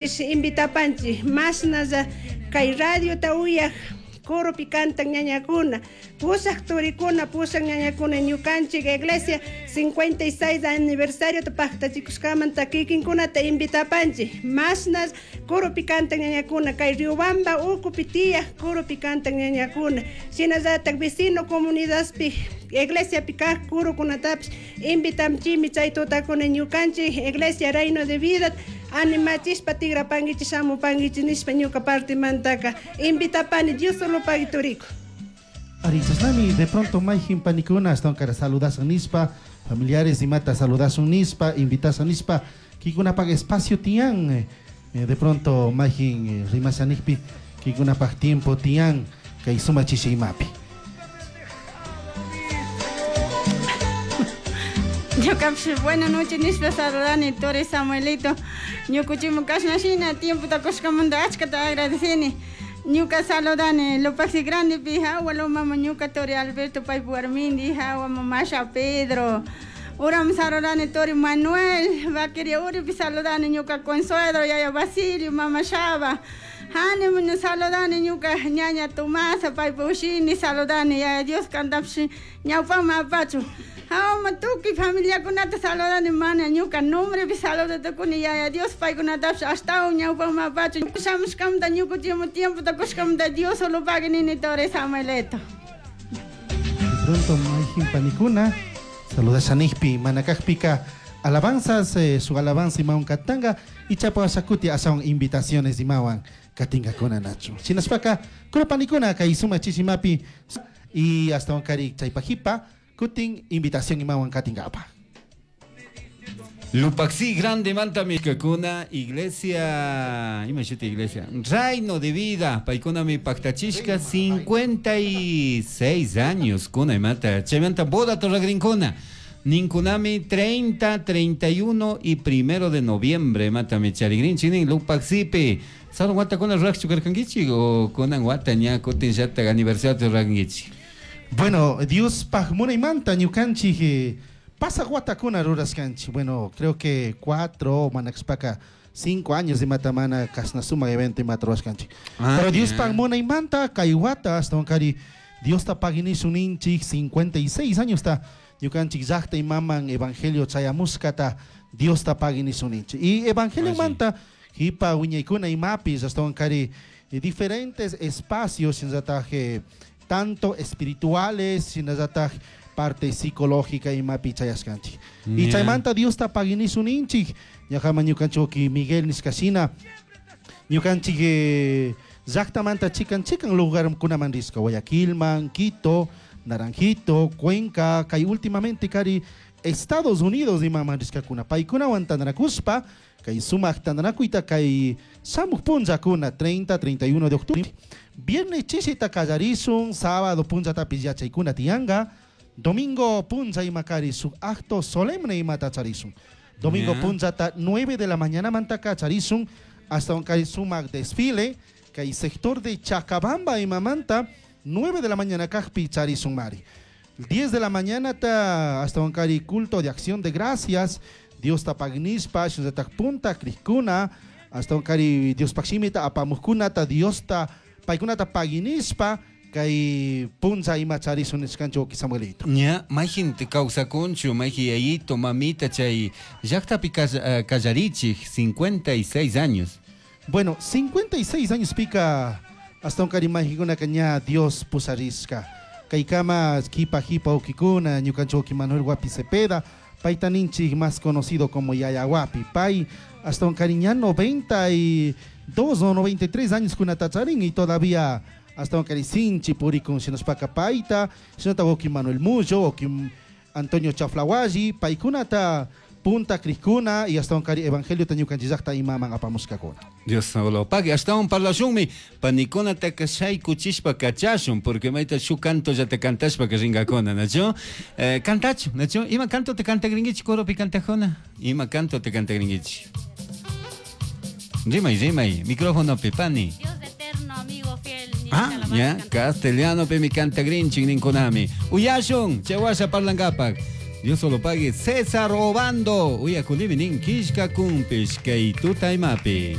Invitapanchik mashnalla kay radiota uyaj coropi cantan ñañakuna, pusaj turikuna, pusaj ñañakuna ñukanchik iglesia 56 aniversario pajtachikushkamanta kikinkunata invitapanchik mashna coropi cantan ñañakuna kay Riobamba ukupi tiyaj coropi cantan ñañakuna, shinallatak vecino comunidadpi iglesiapi kaj kurukunatapish invitamchimi chay tutakuna ñukanchik iglesia Reino de Vida animachishpa tigrapanguichik shamupanguichik nishpa ñuka partimantaka invitapani Dios solo pagui turiku. Ari, chashnami de pronto mayjin panikuna ashtawan kara saludasan nishpa, familiares imata saludasun nishpa, invitasan nishpa, kikunapak espacio tiyan, de pronto mayjin rimashanikpi kikunapak tiempo tiyan kay sumachishi imapi. Ñukapish buena noche nishpa saludani Turi Samuelito. Ñukuchimu kashnashina tiempota kushkamanta achkata agradecini. Ñuka saludani Lupaxi Grandepi hawa mama ñuka Turi Alberto paypu warmindi hawa mamasha Pedro. Uram saludani Turi Manuel Vaqueria Uripi saludani ñuka Consuelo yaya Basilio mama Shaba. Hani muna saludani ñuka ñaña Tomasa paypu ushini saludani yaya Dios kantapish ñawpama apachu. Hawa tukuy familiakunata saludani mana ñuka nombrepi saludatukuni yaya Dios paykunatapish ashtawan ñawpama apachu. Shamushkamanta ñukuchimu tiempota kushkamanta Dios solo pagui nini Turi Samuelito. De pronto mayjin panikuna saludashanikpi mana kakpika alabanzas, su alabanza imawan katanga y chapo ashakuti ashawan invitaciones imawan katingakuna nachu. Shinashpaka kurapanikuna kay suma chishimapi y hasta kari chaypajipa kutin invitación imawan katingapa. Lupaxi grande manta mikakuna iglesia, imagínate iglesia, Reino de Vida, paikuna mi pactachishka 56 años kuna imata, chaymanta boda torragrinkuna, ninkunami 30, 31 y 1 de noviembre mata mi charigrinchi nin Lupaxipi. ¿Saben wata kuna rurakchu karkankichik o kunan wata ña kutin llata aniversario rurankichik? Bueno, Dios paj munaymanta ñukanchik pasa watakuna ruraskanchik. Bueno, creo que 4 manaxpaka 5 años de matamana kasnasuma evento imata ruraskanchik. Pero Dios paj munaymanta kay wata hasta kari Dios ta paginisun ninchik 56 años ta ñukanchik llaqta imaman evangelio chayamuskata Dios ta paginisun ninchik. Y evangelio manta hipa wiñaykuna imapis hasta kari diferentes espacios shinallataje tanto espirituales shinallataj parte psicológica imapi chayaskanchik. Y chaymanta Dios ta paginisun ninchik ñaqama ñukanchik Miguel nishkashina ñukanchik llaqtamanta chikan chikan lugarkunaman risqa Guayaquilman, Quito, Naranjito, Cuenca, kay últimamente kari Estados Unidos imaman risqakuna paykunawan tantanakuspa kay sumaq tantanakuyta kay shamuq punllakuna 30, 31 de octubre. Viernes chishita kallarisun, sábado punllatapish yachaykuna tiyanqa, domingo punlla ima kari suk acto solemne imata charisun. Domingo punllata 9 de la mañana mantaka charisun hasta un kay sumaq desfile kay sector de Chacabamba imamanta 9 de la mañana kajpi charisun mari. 10 de la mañana ta hasta un kari culto de acción de gracias, Dios ta pagnispa, shinallatak punta krikuna, hasta un kari Dios pakshimita apamukuna ta Dios ta paykunata paginispa kay punza ima charisun nishkanchik wawki Samuelito. Ña, mayjin kawsakunchu, mayjin yayito, mamita chay llaqtapi kallarichik 56 años. Bueno, 56 años pika hasta un kari mayjinkunaka ña Dios pusarisqa. Kaykama kipa jipa wawkikuna, ñukanchik wawki Manuel Guapi Cepeda, payta ninchik más conocido como Yaya Guapi. Pay hasta un kari ña 92 o 93 años kunata charin y todavía hasta un kari sinchi purikun shinashpaka payta, shinata wawki Manuel Mullo, wawki Antonio Chaflawalli, paykunata punta krikuna y hasta un kari evangelio ta ñukanchik llaqta imaman apamushkakuna. Dios lo pague. Hasta un parlashunmi panikunata shaykuchishpa kachashun, porque mayta shuk canto ya te cantashpa que ringakuna, ¿nacho? Cantachu, ¿nacho? Ima canto te canta gringuichi, coropi cantajona. Ima canto te canta gringuichi. Rimay, rimay, micrófono pepani. Dios eterno, amigo fiel, ni Ah, ya, castellano pe mi canta grinchi, ninkunami. Uyashun, chewasha parlangapak. Dios solo pague. César Obando. Uya kulimi nin kishka kumpish kay tutaymapi.